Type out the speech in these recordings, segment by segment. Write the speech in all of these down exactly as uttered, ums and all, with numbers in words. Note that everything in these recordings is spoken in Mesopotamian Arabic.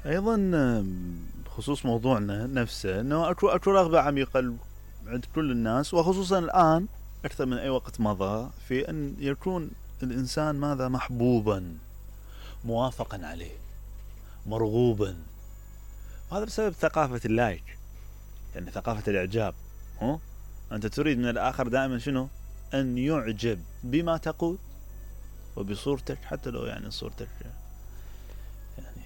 ايضا بخصوص موضوعنا نفسه انه اكو اكو رغبه عميقه عند كل الناس، وخصوصا الان اكثر من اي وقت مضى، في ان يكون الانسان ماذا محبوبا، موافقا عليه، مرغوبا. وهذا بسبب ثقافه اللايك، يعني ثقافه الاعجاب. ها انت تريد من الاخر دائما شنو؟ ان يعجب بما تقول وبصورتك، حتى لو يعني صورتك يعني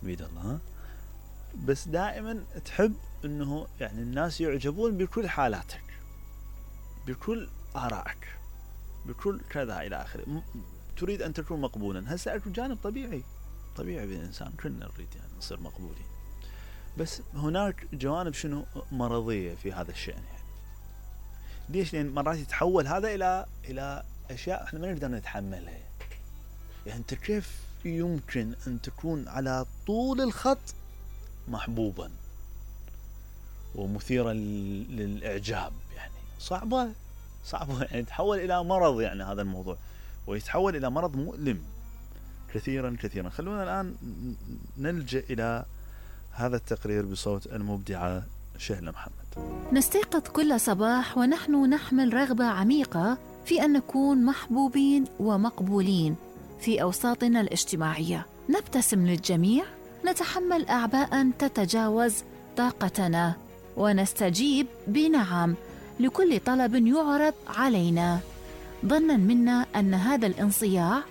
بيد الله، بس دائما تحب انه يعني الناس يعجبون بكل حالاتك، بكل آرائك، بكل كذا الى اخره. تريد ان تكون مقبولا. هسه اكو جانب طبيعي طبيعي بالانسان، كلنا نريد يعني نصير مقبولين، بس هناك جوانب شنو؟ مرضيه في هذا الشأن. يعني ليش؟ لان مرات يتحول هذا الى الى اشياء احنا ما نقدر نتحملها. يعني انت كيف يمكن ان تكون على طول الخط محبوبا ومثيرا للاعجاب؟ يعني صعبه صعبه يعني تحول الى مرض يعني هذا الموضوع، ويتحول الى مرض مؤلم كثيرا كثيرا. خلونا الان نلجأ الى هذا التقرير بصوت المبدعه شهلة محمد. نستيقظ كل صباح ونحن نحمل رغبه عميقه في ان نكون محبوبين ومقبولين في اوساطنا الاجتماعيه. نبتسم للجميع، نتحمل اعباء تتجاوز طاقتنا، ونستجيب بنعم لكل طلب يعرض علينا، ظنا منا ان هذا الانصياع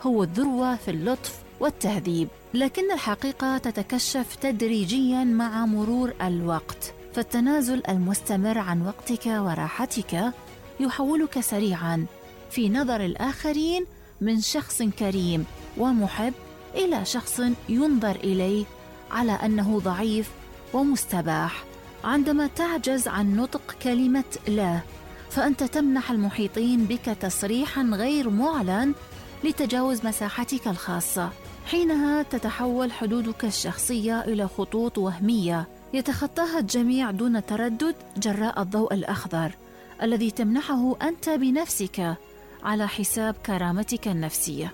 هو الذروه في اللطف والتهذيب. لكن الحقيقه تتكشف تدريجيا مع مرور الوقت، فالتنازل المستمر عن وقتك وراحتك يحولك سريعا في نظر الآخرين من شخص كريم ومحب إلى شخص ينظر إليه على أنه ضعيف ومستباح. عندما تعجز عن نطق كلمة لا، فأنت تمنح المحيطين بك تصريحا غير معلن لتجاوز مساحتك الخاصة. حينها تتحول حدودك الشخصية إلى خطوط وهمية يتخطاها الجميع دون تردد جراء الضوء الأخضر الذي تمنحه أنت بنفسك على حساب كرامتك النفسية.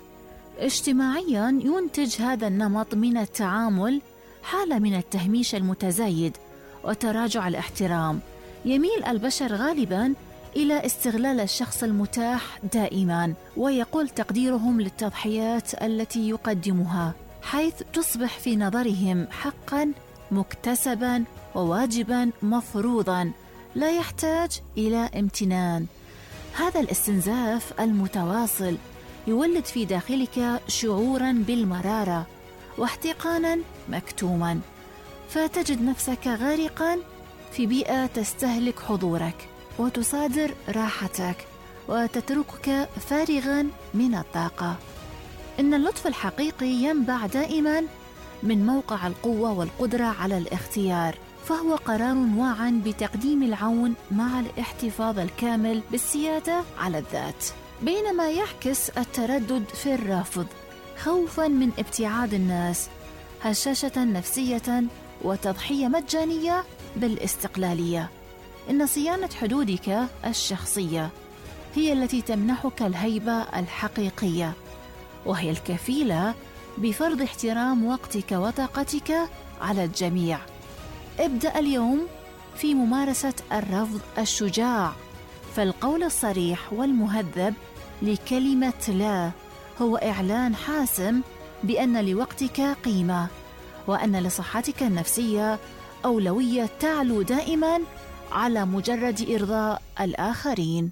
اجتماعياً ينتج هذا النمط من التعامل حالة من التهميش المتزايد وتراجع الاحترام. يميل البشر غالباً إلى استغلال الشخص المتاح دائماً، ويقل تقديرهم للتضحيات التي يقدمها، حيث تصبح في نظرهم حقاً مكتسباً وواجباً مفروضاً لا يحتاج إلى امتنان. هذا الاستنزاف المتواصل يولد في داخلك شعوراً بالمرارة واحتقاناً مكتوماً، فتجد نفسك غارقاً في بيئة تستهلك حضورك وتصادر راحتك وتتركك فارغاً من الطاقة. إن اللطف الحقيقي ينبع دائماً من موقع القوة والقدرة على الاختيار، فهو قرار واعٍ بتقديم العون مع الاحتفاظ الكامل بالسيادة على الذات، بينما يعكس التردد في الرفض خوفاً من ابتعاد الناس، هشاشة نفسية وتضحية مجانية بالاستقلالية. إن صيانة حدودك الشخصية هي التي تمنحك الهيبة الحقيقية، وهي الكفيلة بفرض احترام وقتك وطاقتك على الجميع. ابدأ اليوم في ممارسة الرفض الشجاع، فالقول الصريح والمهذب لكلمة لا هو إعلان حاسم بأن لوقتك قيمة، وأن لصحتك النفسية أولوية تعلو دائما على مجرد إرضاء الآخرين.